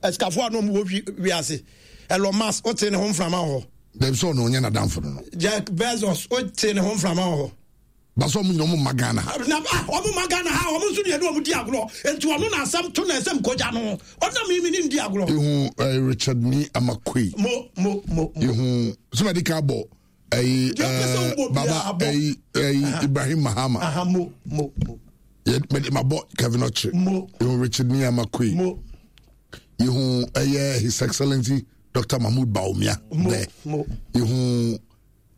Asikafoɔ a na ɔmo wɔ wi wiase. Elon Musk wote ne ho mframa wɔ hɔ. Dɛbi sɛ ɔno ɔnyɛ n'adamfo no no. Jack Bezos wote ne ho mframa wɔ hɔ. Basɛ ɔmo nyina ɔmo mma Ghana ha. Na ah ɔmo mma Ghana ha ɔmo nso deɛ ne ɔmo di agorɔ nti ɔno na asɛm to na ɛsɛm kogya no ɔna mi mi ne ndi agorɔ. Ehu ɛɛ eh, Richard ni Amakoi. Mo mo mo. Ehu sɛ ka bɔ ɛyi ɛɛ baba ɛyi ɛyi Ibrahim Mahama. Aha mo mo mo. Yɛ mɛ ma bɔ Kevin Ɔkye. Mo. Ehu Richard ni Amakoi. Mo. Ehu ɛyɛ His Excellency Dr. Mahmoud Bawumia. Mo mo. Ehu.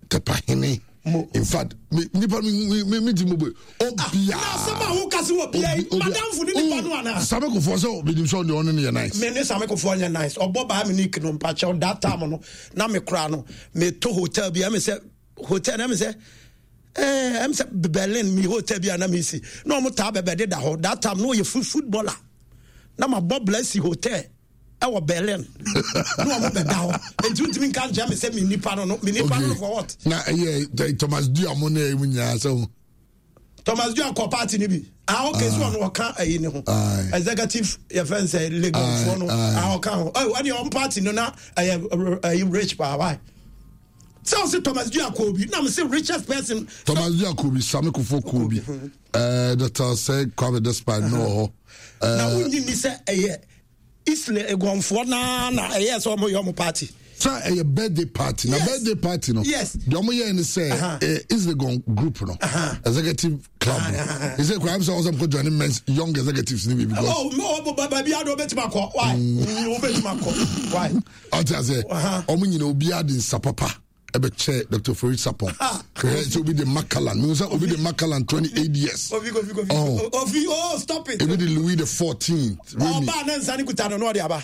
Tɛpahene. In fact, me nipa mi mi mi ti mo bɛ obia. Na asɛm a woka se wɔ bia yi, madamfo ne nipa no ana? Same Kofoɔ sɛ obi nim sɛ ɔne ɔne no yɛ nice. Me ne Same Kofoɔ nyɛ nice. Ɔbɔ baa me nick no mpakyɛw that time no na me kora no me to hotel bi ɛmi sɛ hotel na ɛmi sɛ ɛɛ ɛmi sɛ Berlin mi hotel bi a na mi si na ɔmo taa bɛbɛ de da hɔ that time no ɔyɛ footballer na ma bɔ blessy hotel. ɛwɔ Berlin ne wɔn bɛda hɔ nti ntumi nka nkyɛn mi sɛ mi nipa no no mi nipa no for what. na ɛyɛ Thomas Dua mo ne ɛmu nyinaa sɛ ho. Thomas Dua kɔ party ni bi ah okay so ɔno ɔka ɛyi ne ho executive yɛ fɛn sɛ Legon foɔ no ah ɔka ho ɛwɔ ɛni ɔn party no na ɛyɛ ɛyi rich paa why sɛ ɔsi Thomas Dua kɔ bi na mi sɛ richest person. Thomas Dua kɔ bi Sami Kofo kɔ bi ɛɛ Dr. Sɛ Kwame Despite no wɔ hɔ. Na wonyi ni sɛ ɛyɛ. Isle Eguanfoɔ naa na ɛyɛ sɛ wɔn yɛ wɔn party. Sɛ ɛyɛ birthday party na birthday party no. Yes. Deɛ wɔn yɛ ni sɛ eh, Isle group no. Executive club no. Ɛsɛ kura sɛ ɔsɛ nkɔ join men's young executives ni bi because. Oh mo mo baabi adi ɔbɛtumi akɔ why ɔbɛtumi akɔ why. Ɔte ase wɔn nyina obiara de nsa papa. ɛbɛkyɛ dr farid sapon hwɛ sɛ obi de makalan mehu sɛ obi de makalan 28 years ofi kofi kofi oh. ofi oh stop it ebi de louis the 14th ɔba ne nsa ne kuta no na ɔde aba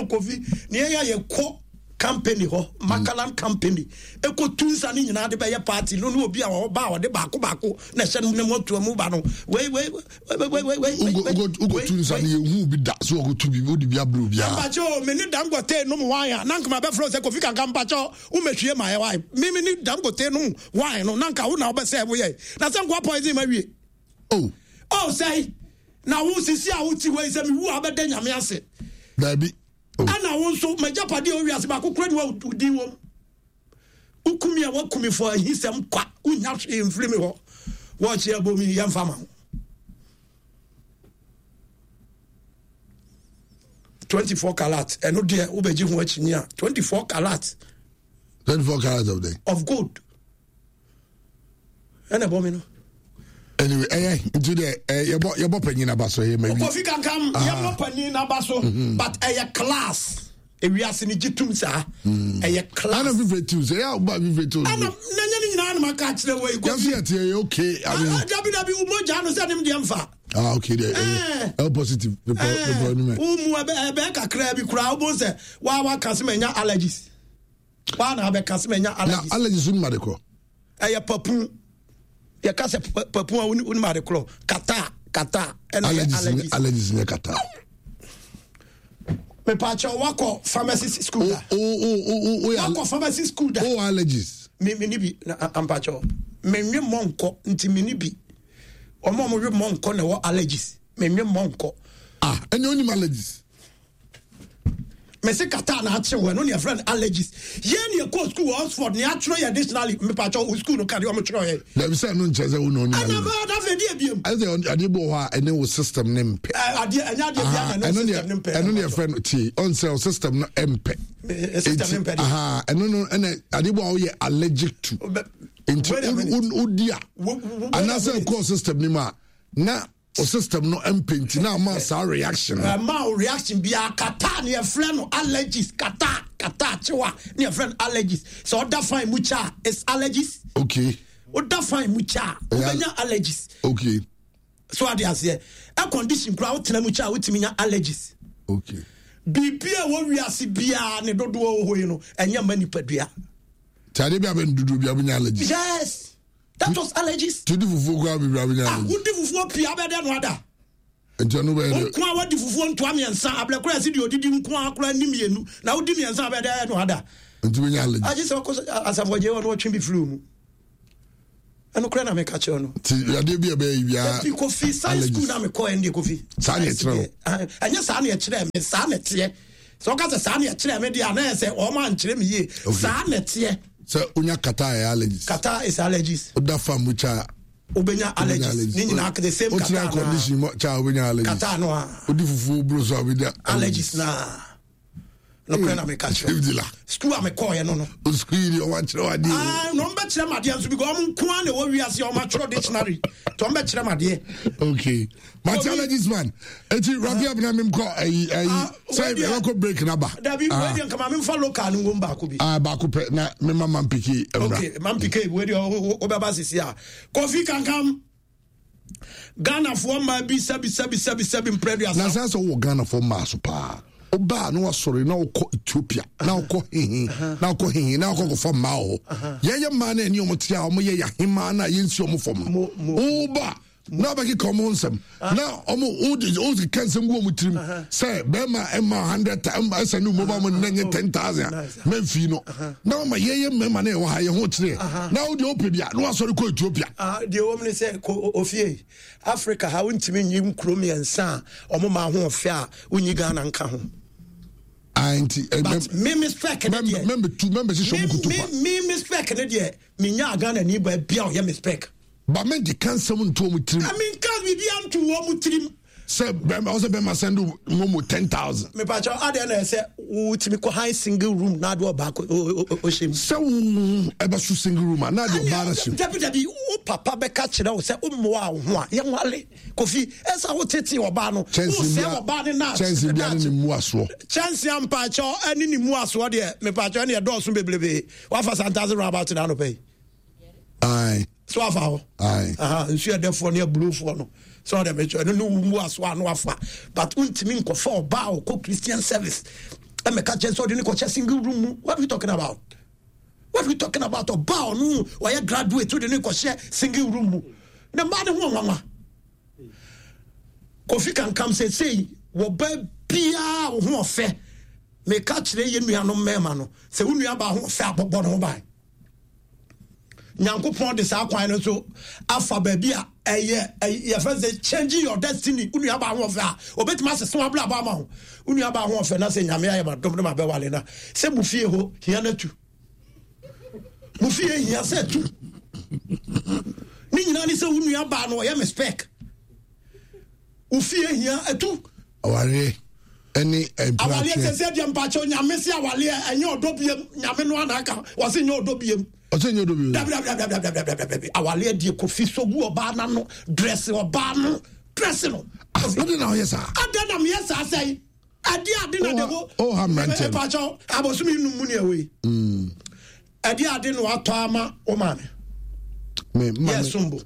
kofi ne yɛyɛ yɛkɔ company hɔ makalan mm. company ɛkɔ tu nsa ne nyinaa de bɛyɛ party no ne obi a ɔba a ɔde baako baako na ɛhyɛ no ne mu atua mu ba no wei wei wokɔtu nsa no yɛhu bi da so wɔkɔtu bi wode bi abrɛ obiara mpakyɛ o me ne dangote nom wine a na nka mabɛfrɛ sɛ kofi kanka mpakyɛ womɛhwie ma ɛ wine me me ne dangote nom wine no na nka wo na wobɛsɛ woyɛ na sɛ nkoa poison ma wie oh oh sɛe na wo sisi a wote hɔ yi sɛ mewu a wobɛda nyame ase daabi oh. ɛna wo nso magyapadeɛ owiase baako kora ni wa wodin wom Woku me a woaku me for ahisɛm kwa wonya hwee mfiri me hɔ wɔɔkye abɔ mi yɛmfa ma wo 24 karat ɛno deɛ wobɛgye ho akyinyi a 24 karat 24 karat of the of gold ɛna ɛbɔ mi no. anyway ɛyɛ nti dɛ ɛ yɛbɔ yɛbɔ panyin aba so ɛyɛ ma wi. kofi kankam yɛbɔ panyin aba so mhm. but ɛyɛ class ewiase ni gye tum saa mm. ɛyɛ class. ɛna fífɛ tiw sɛ ɛyà ɔba fífɛ tiw. ɛna n'anyɛ ne nyinaa anam aka akyerɛ wɔ yi kofi. yasi ɛti ɛyɛ okay. dabi dabi o mogya no sɛ ne mu deɛ nfa. ah okay deɛ ɛyɛ ɛyɛ positive. ɛɛ o mu ɛbɛ ɛbɛ kakra bi kura o bɔ sɛ wa wa kasi mɛ nya allergies. Waa na abɛka sɛ manya allergies. Na allergies wonim ade korɔ? Ɛyɛ papu. Yɛka sɛ papu a wonim ade korɔ. Kata kata ɛna yɛ allergies. Allergies nyɛ kata. Mepaakyɛ wakɔ pharmacy school da. O o o o wakɔ pharmacy school da. O allergies. Me me ni bi na ampaakyɛ menwe mɔnkɔ nti me ni bi. Wɔn a wɔwe mɔnkɔ na ɛwɔ allergies. Menwe mɔnkɔ. Ah ɛnyɛ onim allergies. mese kata na akye wɔ ɛno ne yɛfrɛ no allergies yɛn ne yɛkɔɔ school wɔ Oxford ne atwerɛ yɛ dictionary mepakyɛ wo school no ka deɛ ɔmo twerɛ yɛ dabi sɛ ɛno nkyerɛ sɛ wo na ɔnyɛ ɛna bɛyɛ da afei deɛ biem ɛsɛ adeɛ bi wɔ hɔ a ɛne wo system ne mpɛ adeɛ ɛnyɛ adeɛ bi a na ɛne wo system ne mpɛ ɛno ne yɛfrɛ no tie ɔn sɛ wo system no mpɛ system ne mpɛ deɛ ɛno no ɛna adeɛ bi a woyɛ allergic to nti wodi a anaasɛ ɛkɔɔ system no mu a na o system no mpɛ nti na ama saa reaction no. ɛma o reaction biara kata ne yɛfrɛ no allergies kata kata kyewa ne yɛfrɛ no allergies sɛ ɔda fan mu kyɛ a it's allergies. okay. ɔda fan mu kyɛ a wobɛnya allergies. okay. so ade aseɛ air condition koraa wotena mu kyɛ a wotumi nya allergies. okay. biribi a ɛwɔ wiase biara ne dodoɔ wɔ hɔ yi no ɛnyɛ mma nipadua. tí ade bi a bɛ dodoɔ bi a bɛ nya allergies. yes. That was allergies. Ti di fufuo koraa bebree abɛnya ah, allergies. Wodi fufuo pii abɛdɛ no ada. Nti ɛno bɛyɛ dɛ. Nko a wadi fufuo ntoa mmiɛnsa abrɛ koraa ɛsi deɛ odidi nko a koraa ni mmienu na wodi mmiɛnsa abɛdɛ no ada. Nti bɛnya allergies. Agye sɛ ɔkɔ asafo agye hɔ na ɔtwe bi firi mu. Ɛno kora na meka kyerɛ no. Nti yadeɛ bi a ɛbɛyɛ yi biara. Dabi Kofi science school na mekɔ ɛndeɛ Kofi. Saa na ɛkyerɛ no. Ɛnyɛ saa na ɛkyerɛ me saa na ɛteɛ. Sɛ ɔka sɛ saa na ɛkyerɛ me deɛ a na yɛ sɛ wɔn ankyerɛ me yie. Saa na ɛteɛ. Sɛ onya kata ɛyɛ allergies. Kata is allergies. Oda fam mu kya. Wobɛnya allergies. Ne nyinaa the same kata naa. Otina condition mu kya wobɛnya allergies. Kata no a. Odi fufuo buro so a wobɛnya allergies naa. Nokorɛ na meka kyerɛ sukuu a mekɔɔyɛ no no. Sukuu yi deɛ ɔmo akyerɛ adeɛ. Ah, na ɔmo bɛkyerɛ m adeɛ nso because ɔmo nko ara na ɛwɔ wiase ɔmo atwerɛ dictionary nti ɔmo bɛkyerɛ m adeɛ. Okay, mate allergies man eti wrap up na mem kɔ ayi ayi sɛ ɛbɛkɔ break na ba. Dabi wei deɛ nka ma memfa local no ngom baako bi. Ah baako pɛ na mema mampiki mmra. Okay, mampiki wei deɛ wobɛba sisi a. Kofi Kankam. Ghanafoɔ mmaa bi sɛbi sɛbi sɛbi sɛbi mprɛduasa. Na sɛ sɛ wowɔ Ghanafoɔ mmaa so paa wobaa na wasɔre na wokɔ Ethiopia na wokɔ hehe na wokɔ hehe na wokɔ kɔfa mmaa wɔ hɔ yɛyɛ mmaa no ɛne ɔmo te a ɔmo yɛ yɛahemaa no a yɛnsi ɔmo fam no woba na wabɛkeka ɔmo nsɛm na ɔmo wode wokeka nsɛm gu ɔmo tirim sɛ bɛrima ɛma hundred ɛsɛ ne mobile money na nyɛ 10,000 a mɛmfii no na wama yɛyɛ mmarima na ɛwɔ ha yɛ ho kyerɛ na wode wopɛ bi a na wasɔre kɔ Ethiopia. Ah, deɛ wɔm ne sɛ kɔ ofie Africa ha wontumi nyi nkuro mmiɛnsa a ɔmo ma ho ɔfɛ a wonyi Ghana nka ho. Ah, nti eh, but me me spec ne deɛ mɛmbɛtu mɛmbɛhyehyɛ ɔmo kutu pa me me spec ne deɛ menya Ghana ni ba bia ɔyɛ me spec. Ba mɛnkeka nsɛm nto ɔmo tirim. Menka biribi anto wɔn tirim. Sɛ bɛrima ɔsɛ bɛrima send mo mo 10,000. Mepakyɛw adeɛ na ɛsɛ wotumi kɔ high single room na adeɛ ɔbaa kɔ ɔhyɛ mu. Sɛ wo ɛbɛso single room a na adeɛ ɔbaa no hyɛ mu. Dabi dabi wo papa bɛka kyerɛ wo sɛ wommoa wo ho a yɛnwale Kofi ɛsɛ wo tete ɔbaa no wosɛ ɔbaa no na kyɛnse bia ne ne mu asoɔ. Kyɛnse ampakyɛw ɛne ne mu asoɔ deɛ mepakyɛw ɛne ɛdɔɔso bebrebe wafa santase roundabout na anɔpɛ yi. Aye. So afa hɔ. Aye. Aha, nsu ɛdɛfoɔ ne aburofoɔ no. So ɔdɛ mekyɛ ɛno ne wo mu aso ano afa. But wontumi nkɔfa ɔbaa a ɔkɔ Christian service. Ɛmɛka kyɛn sɛ ɔde ne kɔhyɛ single room mu. What are we talking about? What are we talking about? Ɔbaa ɔno ɔyɛ graduate wode ne kɔhyɛ single room mu. Ne mmaa ne ho nwanwa. Kofi Kankam sesei wɔba biara wo ho ɔfɛ. Meka kyerɛ yɛ nuanom mmarima no sɛ wo nuabaa ho ɔfɛ abɔbɔ ne ho ban. Nyankopɔn de saa kwan no so afa baabi a ɛyɛ yɛfrɛ sɛ changing your destiny. Wo nua baa ho ɔfɛ a obetumi asesa w'abrabɔ ama wo. Wo nua baa ho ɔfɛ na sɛ Nyame ayɛ ma dom no ma bɛwale na sɛ mo fie hɔ hia no atu. Mo fie hia sɛ tu. Ne nyinaa ne sɛ wo nua baa no ɔyɛ me spec. Wo fie hia atu. Awareɛ ɛne mpratwe. Awareɛ sɛ sɛ deɛ mpakyɛw Nyame se awareɛ ɛnyɛ ɔdɔ biem Nyame no ana aka wɔse nyɛ ɔdɔ biem. Ɔsɛ nyɛ ɔdɔ biem. Dabi dabi dabi dabi dabi dabi dabi awareɛ deɛ Kofi so gu ɔbaa n'ano dress ɔbaa no dress no. Ade na ɔyɛ saa. Ade na meyɛ saa sɛn. Ɛde ade na de ho. Oh ha mmeranteɛ. Mpakyɛw abosom num mu ne ɛwɔ yi. Ɛde ade na watɔ ama wo maame. Me maame. Yɛ sombo.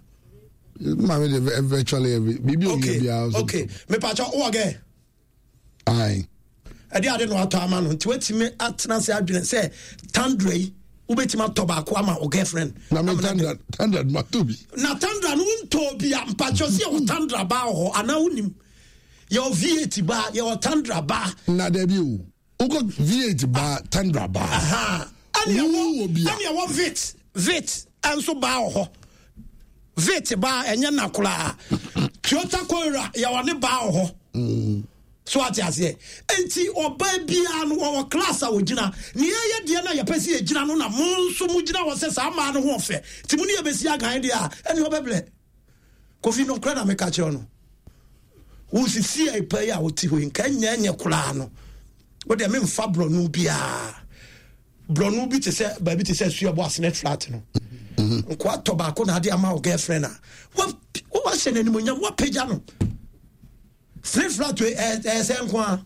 Maame de virtually every biribi owie biara. Okay mepakyɛw wowɔ gɛ. Aye. Ɛde ade na watɔ ama no nti watumi atena ase adwene sɛ tandra yi wobɛtumi atɔ baako ama wo girlfriend. Na me tandra tandra ma to bi. Na tandra no wontɔɔ bi a mpakyɛw sɛ yɛwɔ tandra baa wɔ hɔ anaa wonim yɛwɔ V8 baa yɛwɔ tandra baa. Na dabi o. Wokɔ V8 baa tandra baa. Ɛne ɛwɔ vit vit nso baa wɔ hɔ. Vit baa ɛnyɛ na koraa. Toyota Corolla yɛwɔ ne baa wɔ hɔ. Mm. So ate aseɛ. Nti ɔbaa biara no wɔwɔ class a wɔgyina. Nea ɛyɛ deɛ no a yɛpɛ sɛ yɛgyina no na mo nso mo gyina hɔ sɛ saa mmaa no ho ɔfɛ. Nti mo ne yɛbɛsi agan deɛ a ɛne ɔbɛbrɛ. Kofi nokorɛ na meka kyerɛ no. Wo sisi a pa yi a wote hɔ yi nka nyɛ nyɛ koraa no. Wo deɛ memfa borɔno biara. Borɔno bi te sɛ baabi te sɛ suabɔ asenet flat no. Mm-hmm. Nkoa tɔ baako na ade ama wo girlfriend a. Wahyɛ no animonyam wapagya no. Three flat wei ɛyɛ sɛ nko a.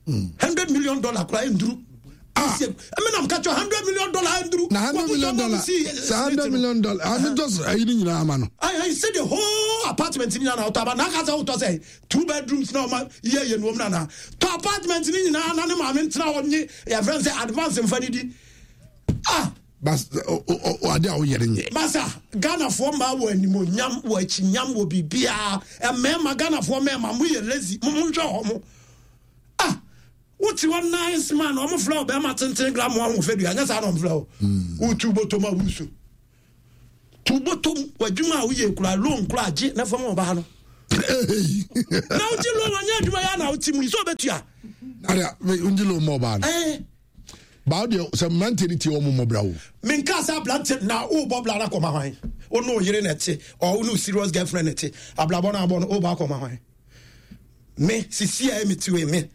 $100 million koraa nduru. Ah. Ɛmi nam kakyɛ $100 million nduru. Na $100 million sɛ $100 million ame just ayi ni nyinaa ama no. Ayi ayi sɛ the whole apartment ni nyinaa na ɔtɔ aba na aka sɛ ɔtɔ sɛ two bedrooms na ɔma yie yɛ nuom na na tɔ apartment ni nyinaa na ne maame ntena hɔ nye yɛfrɛ sɛ advance nfa ni di. Ah. Bas o ade a woyɛ no nyɛ. Masa Ghanafoɔ mmaa wɔ animonyam wɔ akyinyam wɔ biribiara mmarima Ghanafoɔ mmarima mo yɛ lazy mo mo nhwɛ hɔ mo ah wote hɔ nice man wɔn frɛ wo bɛrima tenten gra mo ahoɔfɛ dua nyɛ saa na wɔn frɛ wo wotu bɔtɔ ma wusu. To bɔtɔm w'adwuma a woyɛ kura loan kura gye na fam ɔbaa no. Na wogye loan anyɛ adwuma yɛ na wote mu yi sɛ ɔbɛtua. Ada wogye loan ma ɔbaa no. Eh. Baa deɛ sɛ mmeranteɛ no tie wɔn mmɔ bra o. Menka sɛ aberanteɛ na wobɔ bra no akɔma hwan? Wo ne wo yere na ɛte or wo ne wo serious girlfriend na ɛte abrabɔ no abɔ no wobɔ akɔma hwan? Me sisi a mete wei me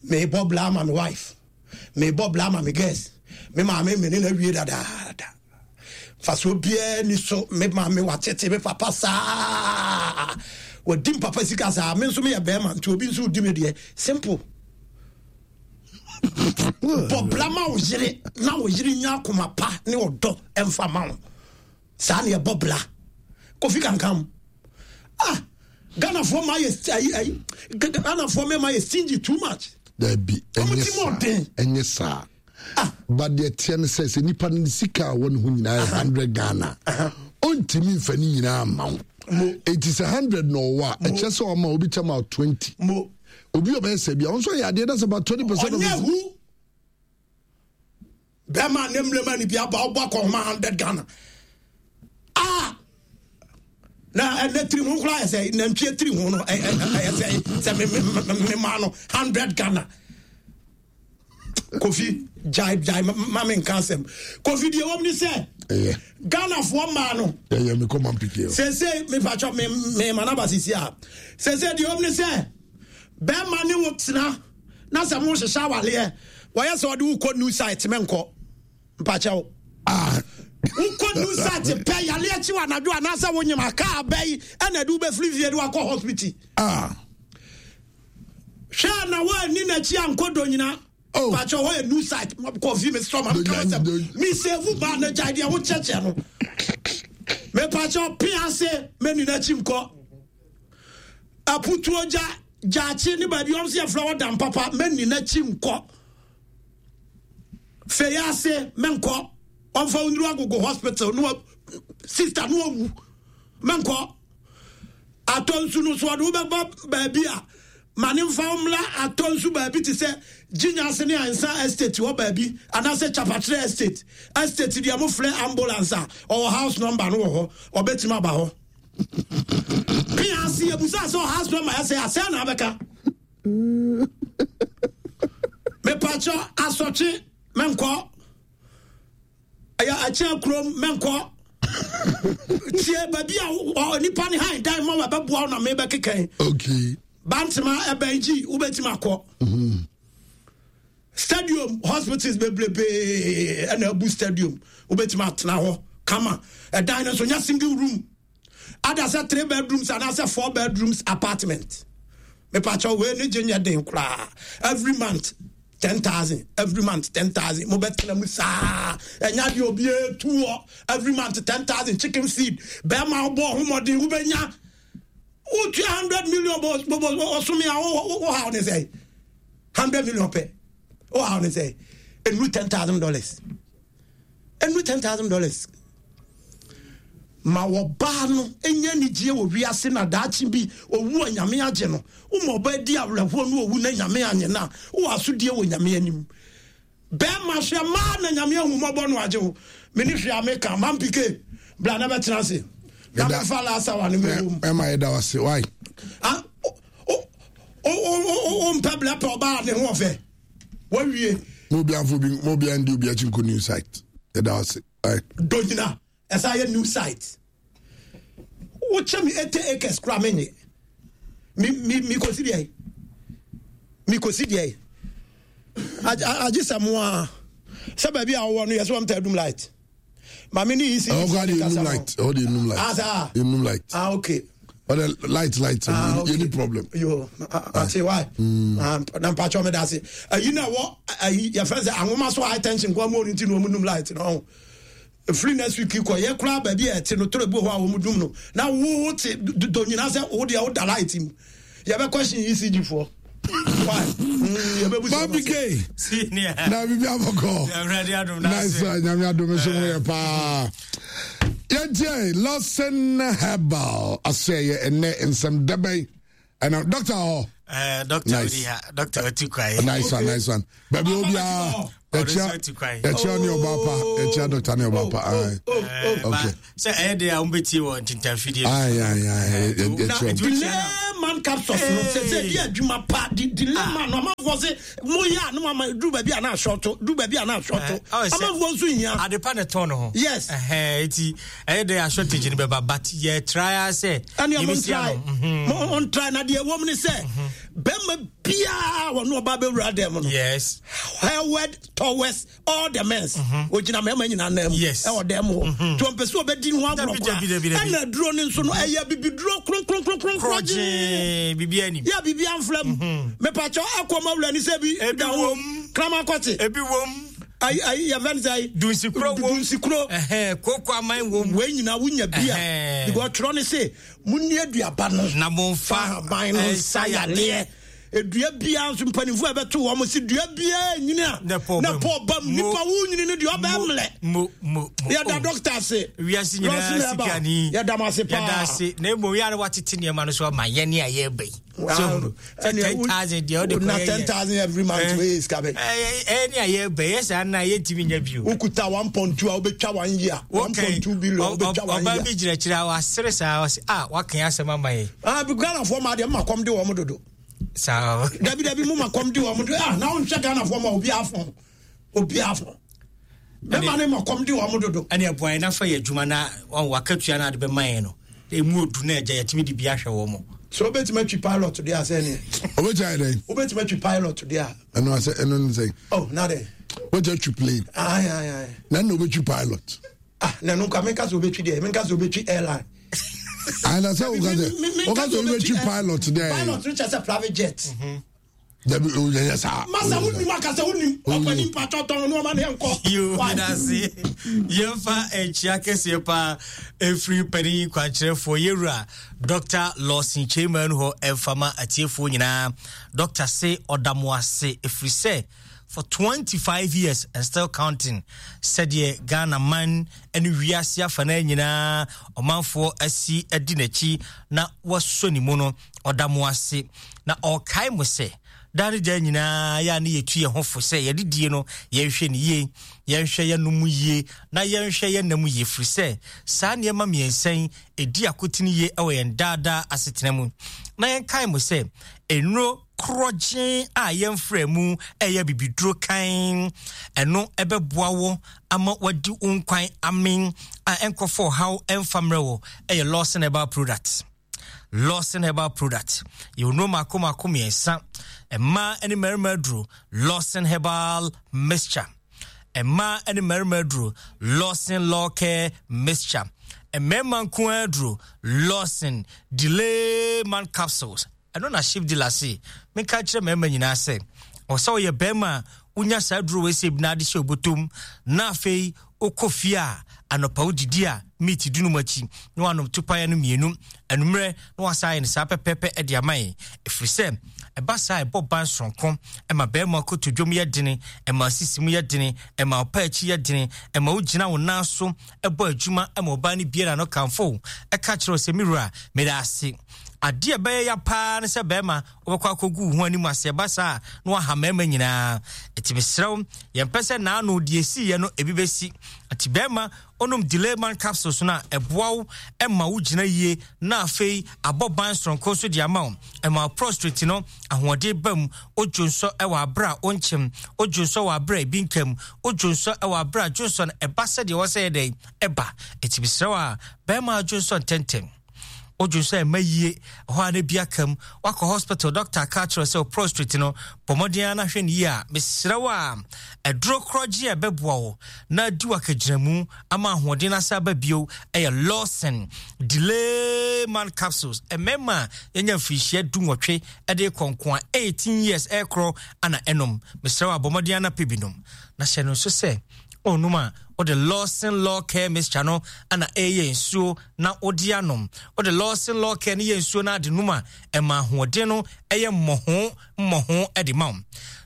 mebɔ bra ama me wife mebɔ bra ama me girls me maame me ne no awie dadaada fasoɔ biara ni so me maame watete me papa saa wadi me papa sika saa me nso meyɛ bɛrima nti obi nso di me deɛ simple bɔ bra ma wo yere na wo yere nya akoma pa ne ɔdɔ ɛmfa ma wo saa ne ɛbɔ bra kofi kankam ah ghanafoɔ ma yɛ ayi ayi ghanafoɔ mɛma yɛ stingy too much dabi ɛnyɛ saa ɛnyɛ saa ah. Ba deɛ teɛ no sɛ sɛ nipa no sika a wɔ ne ho nyinaa yɛ 100 ghana ɔntumi mfa ne nyinaa ma wo. Enti sɛ 100 na ɔwɔ a ɛkyɛ sɛ ɔma obi kyɛ ma 20. Obi ɔbɛyɛ sɛ bia ɔnso yɛ adeɛ that's about 20 percent of his. Ɔnyɛ hu bɛrima ne mmerɛma ne bi aba ɔbɔ akɔhoma 100 ghana. Ah! Na ɛnɛ tiri ho koraa yɛ sɛ nantwie tiri ho no ɛyɛ sɛ sɛ me me me ma no 100 ghana. Kofi gyae gyae ma me nka asɛm. Kofi deɛ wɔm ne sɛ Ghanafoɔ mmaa no. Ɛyɛ me kɔma mpike. Sese mepatwa me me ma naba sisi a. Sese deɛ wɔm ne sɛ bɛrima ne wo tena na sɛ mo hyehyɛ awaleɛ wɔyɛ sɛ ɔde wo kɔ new site menkɔ mpakyɛw. Ah. Wokɔ new site pɛ yale akyi wɔ anadwo anaasɛ wonyem aka abɛyi ɛna ɛde wobɛfiri fie de wakɔ hospital. Ah. Hwɛ na woanni n'akyi ankɔ donyina. Oh. Pakyɛ hɔ yɛ new site. Kɔfi me sɔ ma meka sɛ me save ba na gyae deɛ wo kyɛkyɛ no. Me pakyɛ pe ase mɛni n'akyi nkɔ. Aputuo gya gyaakye ne baabi wɔn sɛ yɛfrɛ hɔ dan papa mɛni n'akyi nkɔ. Fɛyɛ ase mɛnkɔ. Ɔmfa wo nnuru agogo hospital no sister no awu mɛnkɔ. Atɔ nsu no so ɔde wo bɛba baabi a ma ne mfa wo mmra atɔ nsu baabi te sɛ Gyinya ase ne Ansa Estate hɔ baabi anaasɛ Kyapakyerɛ Estate. Estate deɛ mofrɛ ambulance a ɔwɔ house number no wɔ hɔ ɔbɛtumi aba hɔ. Pia ase yɛbusa sɛ house number ɛsɛ asɛ na abɛka. Mepakyɛ asɔkye mɛnkɔ. Ɛyɛ akyea kurom mɛnkɔ. Tie baabi a nipa ne han dan ma wɔbɛboa wo na mebɛkekɛn. Okay. Bantama ɛbɛn gyi wobɛtumi akɔ. Mm-hmm. Stadium hospitals bebrebe ɛna abu stadium wobɛtumi atena hɔ kama. Ɛdan no nso nyɛ single room. Ada sɛ three bedrooms anaasɛ four bedrooms apartment. Mepakyɛw wei ne gye nyɛ den koraa. Every month 10,000 every month 10,000 mobɛtena mu saa ɛnya deɛ obi etu hɔ every month 10,000 chicken feed bɛrima wobɔ ho mmɔden wobɛnya wotua 100 million ɔsome a wohaw ne sɛ 100 million pɛ wohaw ne sɛ ɛnuru 10,000 dollars ɛnuru $10,000. Ma ɔbaa no nya anigyeɛ wɔ wiase na daakye bi owu a Nyame agye no. Woma ɔbaa di awerɛhoɔ na owu na Nyame anye no a, wowɔ asodie wɔ Nyame anim. Bɛɛma hwɛ maa na Nyame ahu mmɔbɔ no agye wo. Mene hwee a meka. Mampike, bra na bɛtena ase. Na memfa last hour no mɛwɔ mu. Ɛma yɛda wo ase. Why? Ah, o mpɛ blɛ pɛ ɔbaa ne ho ɔfɛ. Wawie. Mo obi anfo bi mo obi andi obi akyi nkɔ new site. Yɛda ase. Donyina ɛsɛ ayɛ new site. Wokyɛ me 80 acres kora menye. Mi mi mi kosi deɛ. Mi kosi deɛ. Agye sɛ mo a sɛ baabi a wɔwɔ no yɛ sɛ wɔn ta adum light. Maame ni isi. Ɛwɔ kɔ adi enum light. Ɛwɔ di enum light. Ah saa. Enum light. Ah okay. Ɔdɛ light light. Ah okay. Any problem. Yo ate why. Ah na mpatsɔ mi da ase. Ayi na wɔ ayi yɛ fɛn sɛ ahoma so high tension kɔ mu oni ti na wɔn num light na ɔho. Efiri next week kɔ yɛ kura baabi a ɛte no toro ebi wɔ hɔ a wɔn dum no na wo te do nyina sɛ wo deɛ wo da light mu. Yɛbɛ question ECG foɔ. Why? Yɛbɛ busa. Bobby K. Na bibi abɔkɔ. Nice one. Nyame adom so mo yɛ paa. Yɛntie Lawson Herbal asɛ yɛ ɛnɛ nsɛm dɛbɛn. Ɛna doctor hɔ. Eh, doctor nice. Doctor Otikwaye. Nice one, nice one. Baby Obia, yɛkyia yɛkyia ne ɔba pa, yɛkyia doctor ne ɔba pa. Aye. Okay. Sɛ ɛyɛ de a wɔn bɛ tie wɔ ntintanfidie. Aye aye aye. Yɛkyia. Delay man capsules no sɛ sɛ di adwuma pa di delay man no amanfoɔ se mo yɛ a no ama duru baabi a na asɔɔto duru baabi a na asɔɔto amanfoɔ nso hia. Adepa na ɛtɔn ne ho. Yes. Ɛhɛn eti ɛyɛ de a shortage no bɛba but yɛ try sɛ. Ɛni ɔmo ntry mo ntry na deɛ ɛwɔ mu ne sɛ bɛrima biara wɔn ɔba bɛwura dɛm no. Yes. Hereward towards all the men. Ogyina mmarima nyinaa nan mu. Yes. Ɛwɔ dɛm hɔ. Tí wɔn pɛ sɛ ɔbɛdi ho agorɔ koraa. Ɛna aduro no nso no ɛyɛ bibiduro kronkronkronkron korɔgyee. Bibi anim. Yɛ bibi anfra mu. Mepakyɛ akɔ ma wura ni sɛ bi da ho. Kraman kɔte. Ebi wom. Ayi ayi yɛ fɛn sɛ ayi. Dunsikuro wom. Dunsikuro. Ɛhɛn koko aman wom. Wei nyinaa wunya bi a. Because twerɛ ne se munni aduaba no. Na momfa ahaban no nsa yadeɛ. Edua biara nso mpanimfoɔ a ɛbɛto wɔn si dua biara nyini a na pɔ ba mu nipa wo nyini no deɛ ɔbɛn mlɛ. Mo mo mo. Yɛda dɔkta ase. Wiase nyinaa sika ni. Yɛda mo ase paa. Yɛda ase na emu yɛ ara watete nneɛma no so ama yɛn ne a yɛreba yi. So 10,000 deɛ ɔde kɔ yɛ. Na 10,000 every month wei sika bɛ. Ɛyɛ ne a yɛreba yɛ saa na yɛntumi nya bio. Wokuta 1.2 a wobɛtwa one year. 1.2 billion wobɛtwa one year. Ɔbaa bi gyinakyerɛ a wasere saa ɔse ah waka asɛm ama yɛn. Ah Ghanafoɔ ma deɛ mma kɔm de wɔn dodo. Saa. Dabi dabi mo ma kɔm de wɔn dodo ah na wonhwɛ Ghanafoɔ ma obi afɔn obi afɔn. Bɛma ne ma kɔm de wɔn dodo. Ɛne ɛboa yɛn nafa yɛ adwuma na wɔn wakatua na ade bɛma yɛn no emu odu na ɛgya yɛtumi de bi ahwɛ wɔn. So wobɛtumi atwi pilot deɛ asɛ neɛ. Wobɛtumi ayɛ dɛn? Wobɛtumi atwi pilot deɛ a. Ɛno asɛ ɛno ne sɛn? Oh na dɛ. Wobɛtumi atwi plane. Ayi ayi ayi. Na ɛna wobɛtwi pilot. Ah na ɛno nka menka sɛ wobɛtwi deɛ menka sɛ wobɛtwi airline. Ayi na sɛ woka sɛ woka sɛ wobɛtwi pilot deɛ. Pilot no kyɛ sɛ private jet. Mm -hmm. Dabi o yɛ yɛ saa. Masa wo nim akasa wo nim ɔpɛ ni mpatɔ tɔn no ɔma ne nkɔ. Yoo medase yɛmfa nkyia kɛseɛ paa ɛfiri panin kwankyerɛfoɔ yɛwura Dr. Lawson Kyeiman hɔ ɛmfa ma atiefoɔ nyinaa. Dr. se ɔda mo ase ɛfiri sɛ for 25 years and still counting sɛdeɛ Ghana man ne wiase afanaa nyinaa ɔmanfoɔ asi adi n'akyi na wasɔ ne mu no ɔda mo ase na ɔrekae mo sɛ daa ne daa nyinaa yɛ a ne yɛtu yɛn ho fo sɛ yɛde die no yɛnhwɛ ne yie yɛnhwɛ yɛn nom yie na yɛnhwɛ yɛn nam yie firi sɛ saa nneɛma mmiɛnsa yi ɛdi akotene yie wɔ yɛn daadaa asetena mu na yɛnkae mo sɛ nnuro korɔgyen a yɛmfrɛ mu ɛyɛ bibiduro kan ɛno ɛbɛboa wo ama wadi wo nkwan amen a ɛnkɔfɔ ɔhaw ɛmfa mmerɛ wɔ ɛyɛ Lawson Herbal Products Lawson Herbal Product. Yɛwɔ nnuro mako mako mmiɛnsa. Mmaa ne mmarima aduro Lawson Herbal Mixture. Mmaa ne mmarima aduro Lawson Law Care Mixture. Mmarima nko aduro Lawson Delay Man Capsules. Ɛno na Chief Dealer se menka kyerɛ mmarima nyinaa sɛ ɔsɛ ɔyɛ barima a wonya saa aduro wei sɛ bi na ade hyɛ obotom na afei Wokɔ fie a, anɔpa wodidi a, meat di nom akyi na wanom topaeɛ no mmienu. Anummerɛ na wasan ayɛ no saa pɛpɛɛpɛ de ama yɛn. Ɛfiri sɛ, ɛba saa a ɛbɔ ban soronko, ɛma barima kotodwom yɛ dene, ɛma sisi mu yɛ dene, ɛma ɔpa akyi yɛ dene, ɛma wogyina wo nan so bɔ adwuma ma ɔbaa no bie n'ano kamfo wo, ɛka kyerɛ wo sɛ, me wura, meda ase. Adeɛ a ɛbɛyɛ ya paa ne sɛ barima wobɛkɔ akɔgu wo ho anim ase ɛba saa a na waha mmarima nyinaa ɛti mesrɛ wo yɛmpɛ sɛ naano deɛ ɛsiiɛ no ebi bɛsi ɛti bɛrima onom delayman capsules no a ɛboa wo ɛma wo gyina yie na afei abɔ ban soronko nso de ama wo ɛma wo prostrate no ahoɔden ba mu odwo nsɔ ɛwɔ abere a wonkyem odwo nsɔ wɔ abere a ebi nkam odwo nsɔ ɛwɔ abere a dwo nsɔ no ɛba sɛdeɛ ɛwɔ sɛ yɛ dɛn ɛba ɛti mesrɛ wo a bɛrima adwo nsɔ ntɛntɛm Wodwen sɛ ɛma yie, ɛhɔ a na bi aka mu. Wakɔ hospital, doctor aka akyerɛ sɛ prostrate no, bɔ mmɔden ara na hwɛ no yie a, mesrɛ wo a, aduro korɔgye a ɛbɛboa wo na adi w'akagyinamu ama ahoɔden no asa aba bio ɛyɛ Lawson Delay Man Capsules. Mmarima a yɛnya mfirihyia 18 de kɔ nko a 18 years ɛrekorɔ ana ɛnom. Mesrɛ wo a, bɔ mmɔden ara na pɛ bi nom. Na hyɛ no nso sɛ, ɔnom a, wode Lawson Law Care Mixture no ana ɛyɛ nsuo na wode anom. Wode Lawson Law Care no yɛ nsuo na ade nom a, ɛma ahoɔden no ɛyɛ mmɔho mmɔho de ma wo.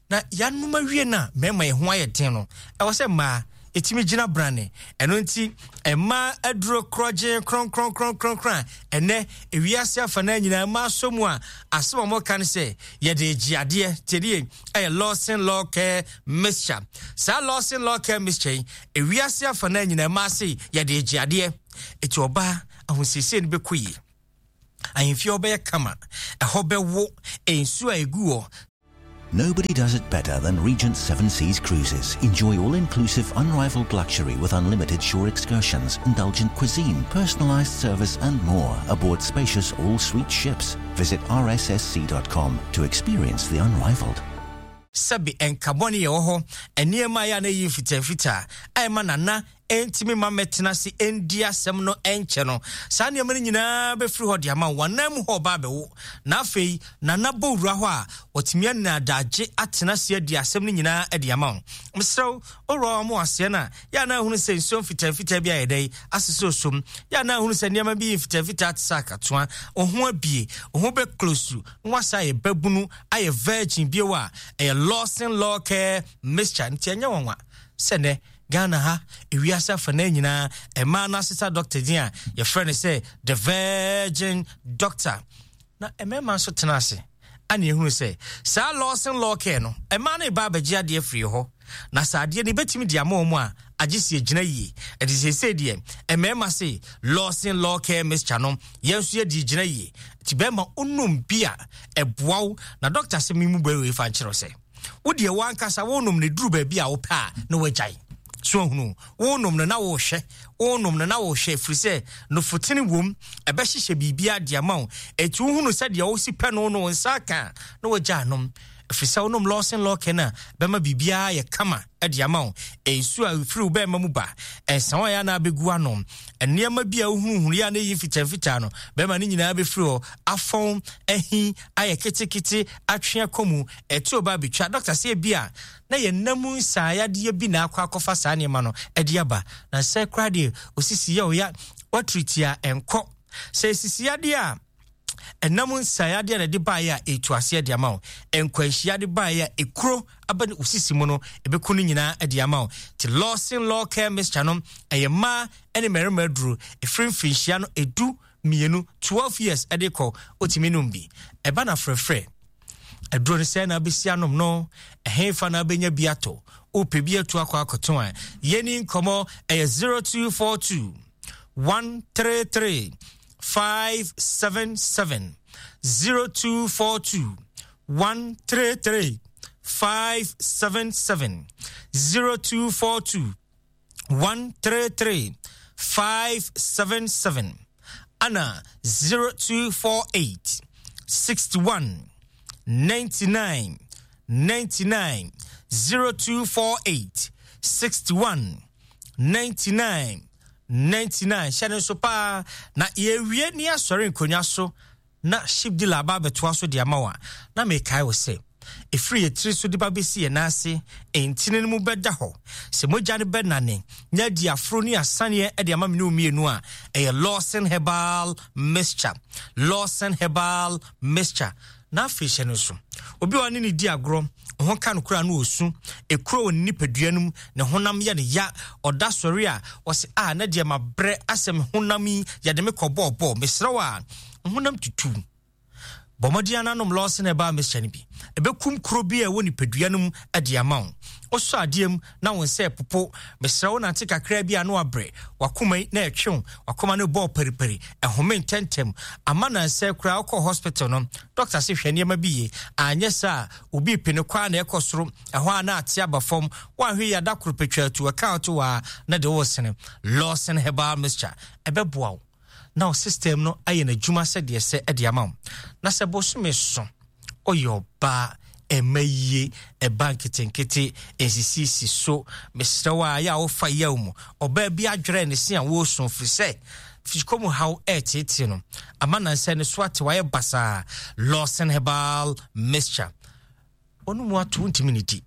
Na yɛanom awie no a, mmarima yɛn ho ayɛ den no, ɛwɔ sɛ mmaa Ɛtumi gyina brane. Ɛno nti, mmaa aduro korɔgyen kronkronkronkronkron a ɛnɛ ewiase afanaa nyinaa mmaa sɔ mu a asɛm a wɔka no sɛ yɛde regye adeɛ tiɛdeɛ ɛyɛ Lawson Law Care Mixture. Saa Lawson Law Care Mixture yi, ewiase afanaa nyinaa mmaa se yɛde regye adeɛ. Eti ɔbaa ahosiesie no bɛkɔ yie. Ahemfie hɔ bɛyɛ kama, ɛhɔ bɛwo, nsuo a ɛgu hɔ. Nobody does it better than Regent Seven Seas Cruises. Enjoy all-inclusive, unrivaled luxury with unlimited shore excursions, indulgent cuisine, personalized service and more aboard spacious all-suite ships. Visit rssc.com to experience the unrivaled. Sɛbe nka bɔne yɛ wɔ hɔ, nneɛma a ɛyɛ a na ɛyɛ mfitamfitaa a ɛma Nana ɛntumi mma mmɛtena ase ndi asɛm no nkyɛ no, saa nneɛma no nyinaa bɛfiri hɔ de ama wo. W'anan mu hɔ ɔba abɛwo, na afei Nana bɔ wura hɔ a, watumi anya adagye atena ase adi asɛm no nyinaa de ama wo. Mesrɛ wo, owura wɔn aseɛ no a, yɛ a na ahunu sɛ nsuo mfitamfitaa bi ayɛ dɛn asesɛ osom, yɛ a na ahunu sɛ nneɛma bi yɛ mfitamfitaa te sɛ akatoa, wo ho abie, wo ho bɛklosu, na wasa ayɛ babunu, ayɛ virgin bio a, ɛyɛ Lawson Law Care Mixture, nti ɛnyɛ nwanwa sɛ nɛ Ghana ha, ewiase afanaa nyinaa, mmaa no asesa dɔkta din a yɛfrɛ no sɛ The Virgin Doctor. Na mmarima nso tena ase ana ehunu sɛ saa Lawson Law Care no, mmaa no reba abɛgye adeɛ afiri hɔ. Na sɛ adeɛ no ebɛtumi de ama wɔn a, agye si egyina yie. Ɛde seesei deɛ, mmarima se Lawson Law Care mixture no, yɛn nso yɛde gyina yie. Nti bɛrima onum bi a, ɛboa wo. Na dɔkta sɛ me mu bɛwei fa nkyerɛ sɛ. Wo deɛ w'ankasa wonom no duru baabi a wopɛ a na wagyae. So ahunu? Wonom no na wohwɛ, wonom no na wohwɛ, ɛfiri sɛ nofotene wom, ɛbɛhyehyɛ biribiara de ama wo. Enti wohunu sɛ deɛ wosi pɛ no no wo nsa aka a, na wagya anom. Ɛfiri sɛ wonom Lawson Lawken a, bɛma biribiara ayɛ kama de ama wo. Nsuo a ɛfiri wo bɛrima mu ba, nsawa a ɛyɛ a na abɛgu ano, nneɛma bi a wohunuhunu yɛ a na ɛyi mfitamfitaa no, bɛrima no nyinaa bɛfiri hɔ afɔn, ahi, ayɛ ketekete, atwe akɔ mu, ɛtuo ba abɛtwa. Dɔkta sɛ ebi a na yɛn nna mu nsaayadeɛ bi na akɔ akɔfa saa nneɛma no de aba. Na sɛ koraa deɛ osisi yɛ ɔya, watiriti a ɛnkɔ. Sɛ esisi yadeɛ a, ɛnam nsaayadeɛ na ɛde baeɛ a ɛtu aseɛ de ama wo. Nkwanhyia de baeɛ a ekuro aba ne osisi mu no, ɛbɛku no nyinaa de ama wo. Ti Lawson Law Care Mixture no, ɛyɛ mmaa ne mmarima aduro. Ɛfiri mfirinhyia no edu mmienu, 12 years de kɔ, wotumi nom bi. Ɛba na frɛfrɛ. Aduro no sɛ na abɛsi anom no, ɛhefa na abɛnya bi atɔ. Wopɛ bi atu akɔ akɔto a, yɛni nkɔmmɔ ɛyɛ 0242 133 577 0242 133 577 0242 133 577 ana 0248 61 99 99 0248 61 99 99 hyɛ no nso paa na yɛwie ne asɔre nkonnwa so na ship dealer aba abɛtoa so de ama wo a, na mekae wo sɛ, ɛfiri yɛn tiri so de ba bɛsi yɛn nan ase, ntini no mu bɛda hɔ. Sɛ mogya no bɛnane na adi aforo ne asaneɛ de ama me ne wo mmienu a, ɛyɛ Lawson Herbal Mixture. Lawson Herbal Mixture. Na afei hyɛ no nso. Obi a ɔne ne di agorɔ, ho ka no koraa no ɔsu, ekuro wɔ ne nipadua no mu, ne honam yɛ no ya, ɔda sɔre a, ɔse, ah, na deɛ mabrɛ asɛ me honam yi, yɛde me kɔ bɔɔbɔɔ, mesrɛ wo a, honam tutu. Bɔ mmɔden ara nom Lawson Herbal Mixture no bi. Ɛbɛkum kuro bi a ɛwɔ nipadua no mu de ama wo. Wosɔ adeɛ mu na wo nsa ɛpopo. Mesrɛ wo nante kakraa bi a na wabrɛ. Wakoma yi na ɛtwe wo. Wakoma no bɔɔ paripari. Ɛhome ntɛntɛm. Ama nansɛ koraa wokɔ hospital no, dɔkta se hwɛ nneɛma bi yie. Anyɛ saa a, obi pe no kɔ a na ɛkɔ soro. Ɛhɔ a na ate aba fam. Woanhwɛ yie a da koro pɛ twa atu. Ɛka wo to hɔ a na de woresene. Lawson Herbal Mixture. Ɛbɛboa wo. na wo system no ayɛ n'adwuma sɛdeɛ ɛsɛ de ama wo. Na sɛ bosome so ɔyɛ ɔbaa ɛma yie ɛba nketenkete nsisisi so mesrɛ wo a yɛ a wofa yaw mu ɔbaa bi adwerɛ ne se a wɔresu firi sɛ fisikɔ mu haw ɛreteetee no ama nansɛ ne so ate wayɛ basaa. Lawson Herbal Mixture ɔno mu ato ntumi ne di.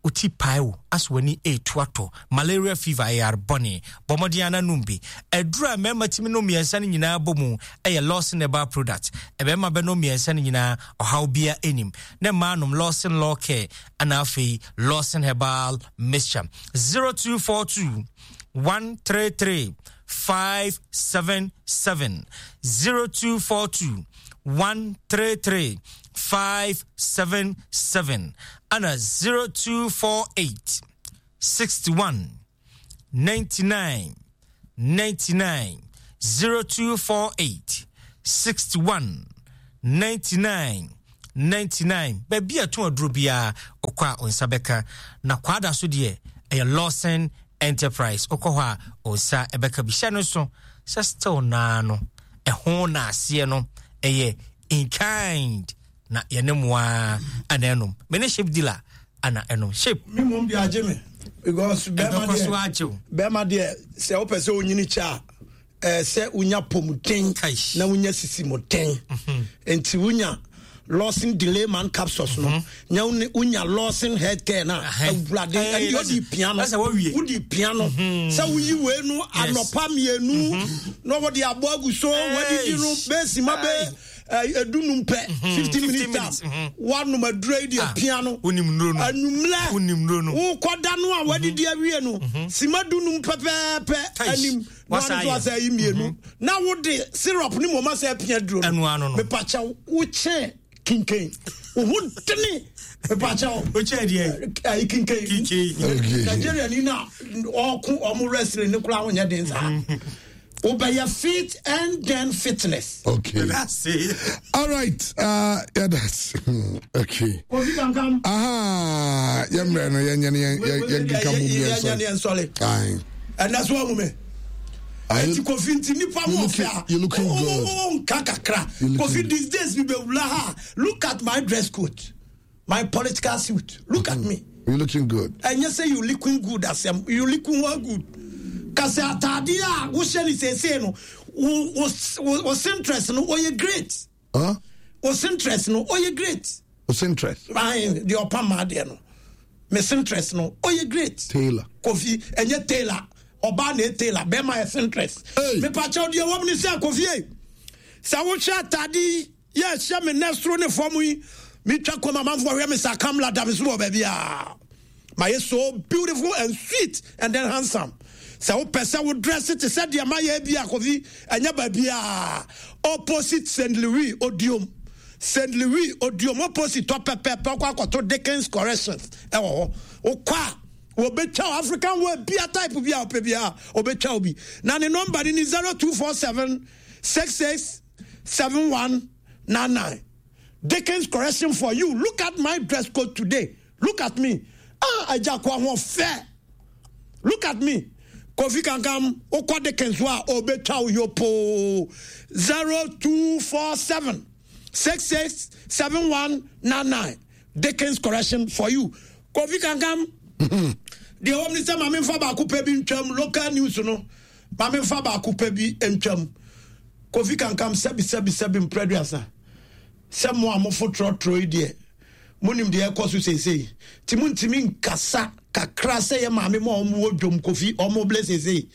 Wo ti pae wo, asɛ w'ani retu atɔ, malaria fever, ɛyɛ yare bɔne. Bɔ mmɔden ara na nom bi. Aduru a mmarima tumi nom mmiɛnsa no nyinaa bɔ mu yɛ Lawson Herbal Product. Mmarima bɛnom mmiɛnsa no nyinaa, ɔhaw biara nnim. Na mmaa nom Lawson Law Care ɛna afei Lawson Herbal Mixture. 0242 133 577 0242 133 577 ɛna 0248 61 99 99 0248 61 99 99. Baabi a ɛtɔn aduro biara wokɔ a wo nsa bɛka. Na Kwada so deɛ ɛyɛ Lawson Enterprise. Wokɔ hɔ a wo nsa bɛka bi. Hyɛ no nso sɛ still naa no ɛho na aseɛ no ɛyɛ in kind na yɛne mo ara ana ɛnom. Me ne ship dealer ana ɛnom ship. Me mom deɛ agye me because bɛrima deɛ so agye wo. Bɛrima deɛ sɛ wopɛ sɛ wonyini kyɛ a ɛɛ sɛ wonya pɔmuden na wonya sisi mu den mhm. nti wonya Lawson delay man capsules no mhm. nya wonya Lawson health care na awurade ɛne wodi pia no wodi pia no mhm. sɛ woyi wei no anɔpa mmienu na wɔde abɔ agu so wɔadidi no bɛsi ma bɛ edunum pɛ 15 minutes time wanom aduro yi deɛ pia no anwummerɛ wokɔda no a wadidi awie no sima dunum pɛpɛɛpɛ anim na ɔno nso asɛ ayi mmienu mhm. na wode syrup ne mmom asɛ apia duro no mepakyɛw wokyɛn kinkan wo ho dene mepakyɛw wokyɛn deɛ ayi kinkan Nigeria ni na ɔko ɔmo wrestling ne koraa wonyɛ den saa mhm. wobɛyɛ fit and then fitness. Okay. That's it. All right. Yeah, that's okay. Kofi Kankam. Aha. Yeah, man. Yeah, yeah, yeah, yeah, yeah, yeah, sorry. Aye. Ɛnɛ so ahu me. Ɛti Kofi nti nipa mu ɔfɛ a. You looking good. O nka kakra. Kofi these days mi bɛ wula ha. Look at my dress code. My political suit. Look at me. You looking good. Ɛnyɛ sɛ you looking good asɛm. You looking well good. Kasɛ ataadeɛ a wohyɛ ne seesei no wo wo wo interest no ɔyɛ great. Huh? Wo interest no ɔyɛ great. Wo interest. Ayi deɛ ɔpam maa deɛ no. Me interest no ɔyɛ great. Tailor. Kofi ɛnyɛ tailor. Ɔbaa na ɛ tailor bɛrima yɛ interest. Hey. Mepakyɛw deɛ wɔm ne sɛ Kofi ei. Sɛ wohwɛ ataade yi yɛ hyɛ me nɛ soro ne fam yi metwa kɔm amanfoɔ hwɛ me sa kamla da me so wɔ baabi a mayɛ so beautiful and sweet and then handsome sɛ wopɛ sɛ wo dress te sɛ deɛ mayɛ bi a Kofi ɛnyɛ baabi a opposite St. Louis Odiom St. Louis Odiom opposite tɔ pɛpɛpɛ wokɔ akɔto Dickens Corrections ɛwɔ hɔ wokɔ a wɔbɛtwa wo African wear bia type bi a wopɛ bia wɔbɛtwa wo bi na ne nɔmba no ni 0247 66 7199 Dickens correction for you look at my dress code today look at me ah agya ko ahoɔfɛ look at me Kofi Kankam wokɔ Dickens hɔ a ɔbɛtwa wo yopoo 0247 66 7199 Dickens correction for you Kofi Kankam deɛ wɔm ne sɛ ma memfa baako pɛ bi ntwam local news no ma memfa baako pɛ bi ntwam Kofi Kankam sɛbi sɛbi sɛbi mprɛduasa sɛ mo a mofo trɔtrɔ yi deɛ monim deɛ ɛkɔ so seesei nti montumi nkasa kakra sɛ yɛ maame ma ɔmo wɔ dwom Kofi ɔmo blɛ seesei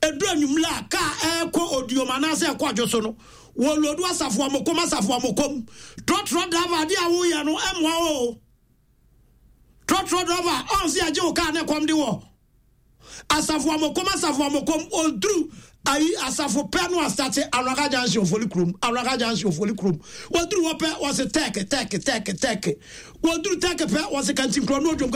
ɛduru anwummerɛ a kaa ɛrekɔ odiom anaasɛ ɛkɔ adwo so no wɔlodu asafo amokom asafo amokom trɔtrɔ driver adeɛ a woyɛ no ɛmmoa o trɔtrɔ driver ɔnse agye wo kaa ne kɔm de wɔ Asafo Amokom Asafo Amokom Ɔduru ayi asafo pɛ no asate Anwaka Junction Ofoli kurom Anwaka Junction Ofoli kurom Wɔduru hɔ pɛ wɔse tɛk tɛk tɛk tɛk Wɔduru tɛk pɛ wɔse Kantinkorɔ no odwom.